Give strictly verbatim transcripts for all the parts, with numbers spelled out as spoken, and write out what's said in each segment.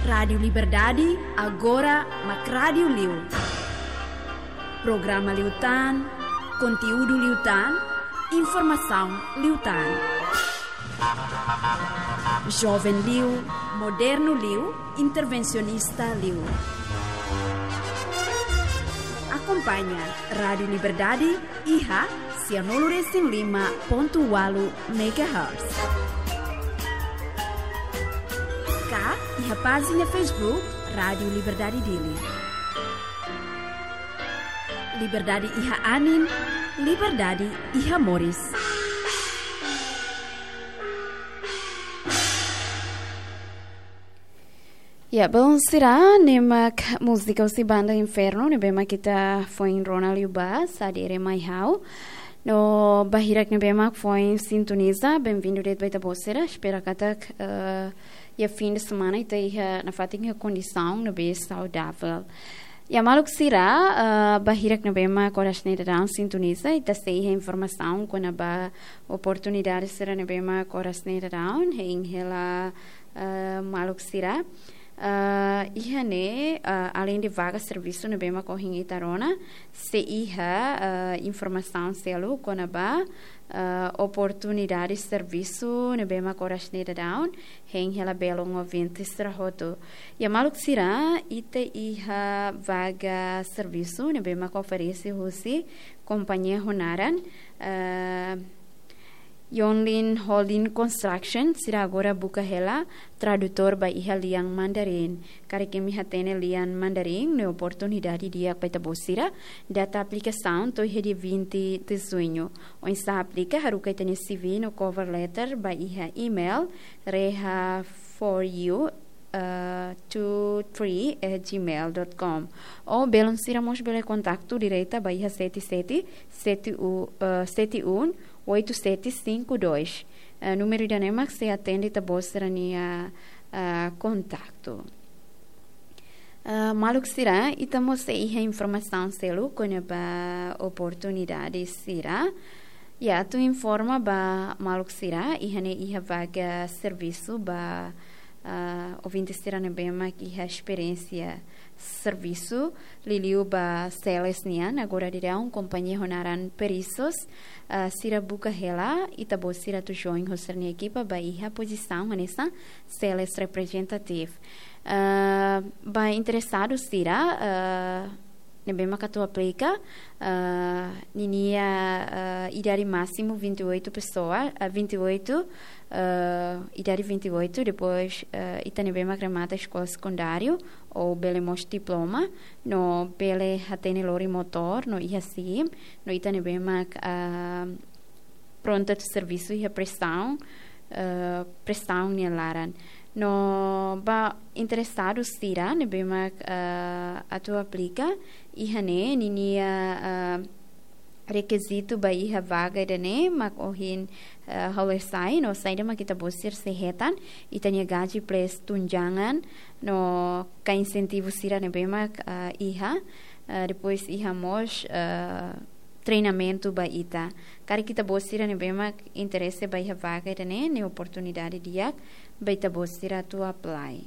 Rádiu Liberdade, agora mak rádiu liu. Programa liután, konteúdu liután, informasaun liután. Joven liu, modernu liu, intervensionista liu. Akompaña Rádiu Liberdade iha sianulu resin lima pontu ualu megahertz. Ka iha pájina Facebook Rádiu Liberdade Dili. Liberdade iha anin, liberdade iha moris. Ya, bom, sira, ne'e mak múzika husi banda Inferno, ne'ebé mak ita foin rona liubá, Sa Dere Mai Ha'u. No ba hirak ne'ebé mak foin sintoniza, bem-vindo de'it ba ita-boot sira. Espera katak, eh, iha fim de semana ita iha nafatin iha kondisaun ne'ebé saudável. Ya, maluk sira, eh, ba hirak ne'ebé mak oras ne'e daudaun sintoniza, ita sei iha informasaun kona-ba oportunidade sira ne'ebé mak oras ne'e daudaun hein hela, eh, maluk sira. Eh, iha ne'e, eh, além de vaga servisu ne'ebé mak ohin ita rona, sei iha, eh, informasaun seluk kona-ba, eh, oportunidade servisu ne'ebé mak oras ne'e daudaun hein hela belun ouvinte sira hotu. Ya, maluk sira, ita iha vaga servisu ne'ebé mak oferese husi kompañia ho naran, eh, Yonlin Holding Construction, sira agora buka hela tradutór ba iha lian Mandarin. Karik imi hatene lian Mandarin, ne'e oportunidade di'ak ba ita-boot sira. Data aplikasaun to'o iha dia vinte de junho. Oinsá aplika, haruka ita-nia C V no cover letter ba iha email reha for you, eh, two three at gmail dot com. Ou belun sira mós bele kontaktu direta ba iha sete sete, sete um, eh, sete um, oito sete cinco dois. Eh, númeru ida-ne'e mak sei atende ita-boot sira-nia, eh, kontaktu. Eh, maluk sira, ita mós sei iha informasaun seluk kona-ba oportunidade sira. Ya, atu informa ba maluk sira, iha ne'e iha vaga servisu ba, ah, ouvinte sira ne'ebé mak iha esperiénsia servisu, liuliu ba sales nian, agora daudaun kompañia ho naran Perisos, ah, sira buka hela ita-boot sira atu join ho sira-nia ekipa ba iha pozisaun hanesan sales representative. Ah, ba interesadu sira, ah, ne'ebé mak atu aplika, ah, ninia, ah, idade másimu vinte e oito pessoa, ah, vinte e oito, ah, idade vinte e oito, depois, ah, ita ne'ebé mak remata eskola sekundáriu, ou bele mós diploma, no bele hatene lori motór, no iha sim, no ita ne'ebé mak, ah, prontu atu servisu iha prestaun, eh, prestaun nia laran. No ba interesadu sira ne'ebé mak, eh, atu aplika, iha ne'e ninia, eh, rekizitu ba iha vaga ida-ne'e mak ohin, eh, halo sai, no saida mak ita-boot sira sei hetan, ita-nia gaji plus tunjangan, no ka insentivu sira ne'ebé mak, eh, iha, eh, depois iha mós, eh, treinamentu ba ita. Karik ita-boot sira ne'ebé mak interese ba iha vaga ida-ne'e, ne'e oportunidade di'ak ba ita-boot sira atu apply.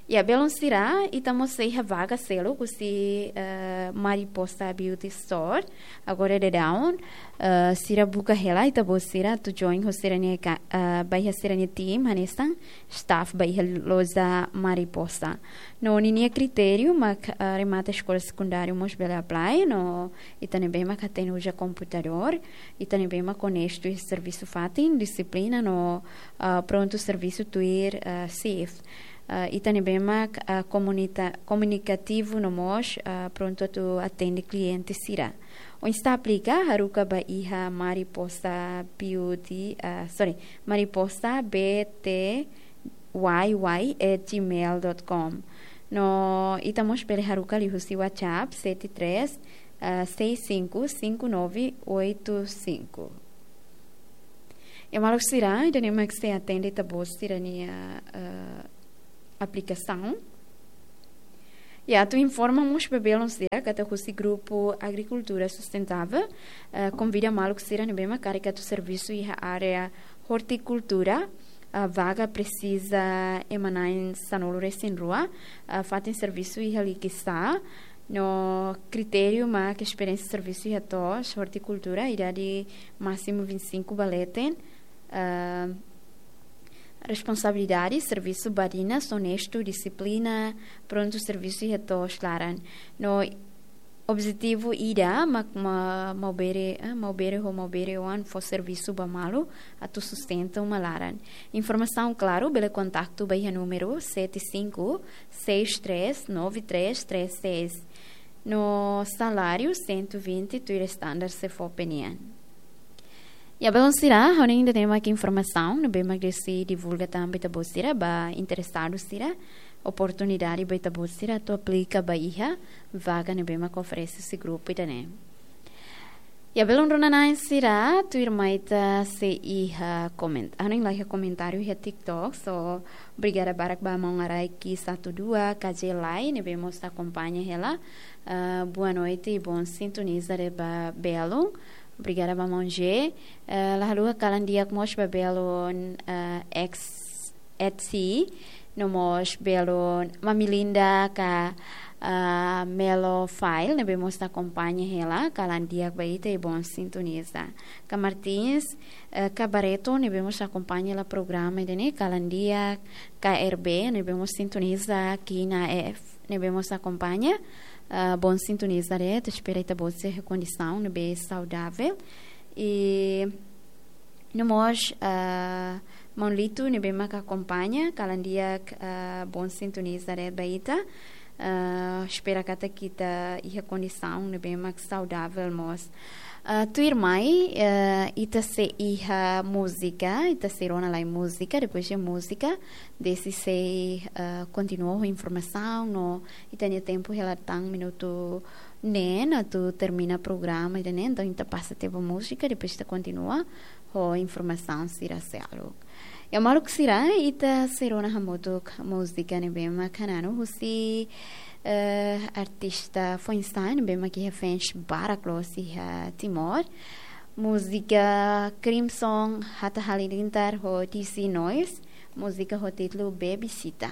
Ya, belun sira, ita mós sei iha vaga seluk husi, eh, Mariposa Beauty Store. Agora daudaun, eh, sira buka hela ita-boot sira atu join ho sira-nia ka-, eh, ba iha sira-nia team, hanesan staff ba iha loja Mariposa. No ninia kritériu mak, ah, remata eskola sekundáriu mós bele apply, no ita ne'ebé mak hatene uza komputadór, ita ne'ebé mak onestu iha servisu fatin, dixiplina no, ah, prontu servisu tuir, ah, shift. Ah, ita ne'ebé mak, ah, komunita-, komunikativu no mós, ah, prontu atu atende kliente sira. Oinsá aplika, haruka ba iha Mariposa Beauty, ah, sorry, Mariposa B T Y Y at gmail dot com. No ita mós bele haruka liuhusi WhatsApp sete três, ah, seis cinco cinco nove oito cinco. Ya, maluk sira, ida-ne'e mak sei atende ita-boot sira-nia, ah, aplikasaun. Ya, atu informa mós ba belun sira katak husi grupu Agrikultura Sustentável, eh, konvida maluk sira ne'ebé mak karik atu servisu iha área ortikultura, ah, vaga presiza ema na'in sanulu-resin-rua, ah, fatin servisu iha Likisá, no kritériu mak esperiénsia servisu iha to'os, ortikultura, idade másimu vinte e cinco ba leten, ah, responsabilidade, servisu badinas, onestu, dixiplina, prontu servisu iha to'os laran. No objetivu ida mak ma-, Maubere, eh, Maubere ho Maubere oan fó servisu ba malu atu sustenta uma laran. Informasaun klaru bele kontaktu ba iha númeru sete cinco seis três nove três três seis. No saláriu cento e vinte tuir standard SEFOPE nian. Ya, belun sira, ha'u hanoin ida-ne'e mak informasaun ne'ebé mak desi divulga tan ba ita-boot sira, ba interesadu sira, oportunidade ba ita-boot sira atu aplika ba iha vaga ne'ebé mak oferese husi grupu ida-ne'e. Ya, belun rona-na'in sira, tuirmai ita sei iha koment-, ha'u hanoin la iha komentáriu iha TikTok, so obrigada barak ba maun Araiki satu dua, K J Lai, ne'ebé mós akompaña hela. Ah, boa noite, bom sintoniza de'it ba belun. Obrigada ba maun G. Eh, la haluha kalan di'ak mós ba belun, eh, X, Etsy, no mós belun Mami Linda ka, ah, Melo File, ne'ebé mós akompaña hela, kalan di'ak ba ita i bom sintoniza. Ka Martins, eh, ka Barreto, ne'ebé mós akompaña hela programa ida-ne'e, kalan di'ak, ka R B, ne'ebé mós sintoniza, Kina F, ne'ebé mós akompaña, ah, bom sintoniza de'it, espera ita-boot sira iha kondisaun ne'ebé saudável. I no mós, ah, maun Lito ne'ebé mak akompaña, kalan di'ak, ah, bom sintoniza de'it ba ita. Ah, espera katak ita iha kondisaun ne'ebé mak saudável mós. Ah, tuirmai, ah, ita sei iha múzika, ita sei rona lai múzika, depois de múzika, desi sei, ah, kontinua ho informasaun, no ita-nia tempu hela tan minutu neen atu termina programa ida-ne'e, entaun ita pasa tiha ba múzika, depois ita kontinua ho informasaun sira seluk. Ya maluk sira, ita sei rona hamutuk múzika ne'ebé mak hananu husi, eh, artista foin-sa'e ne'ebé mak iha fans barak loos iha Timor. Múzika Crimson, Hatta Halilintar ho D C Noise, múzika ho títulu Baby Sita.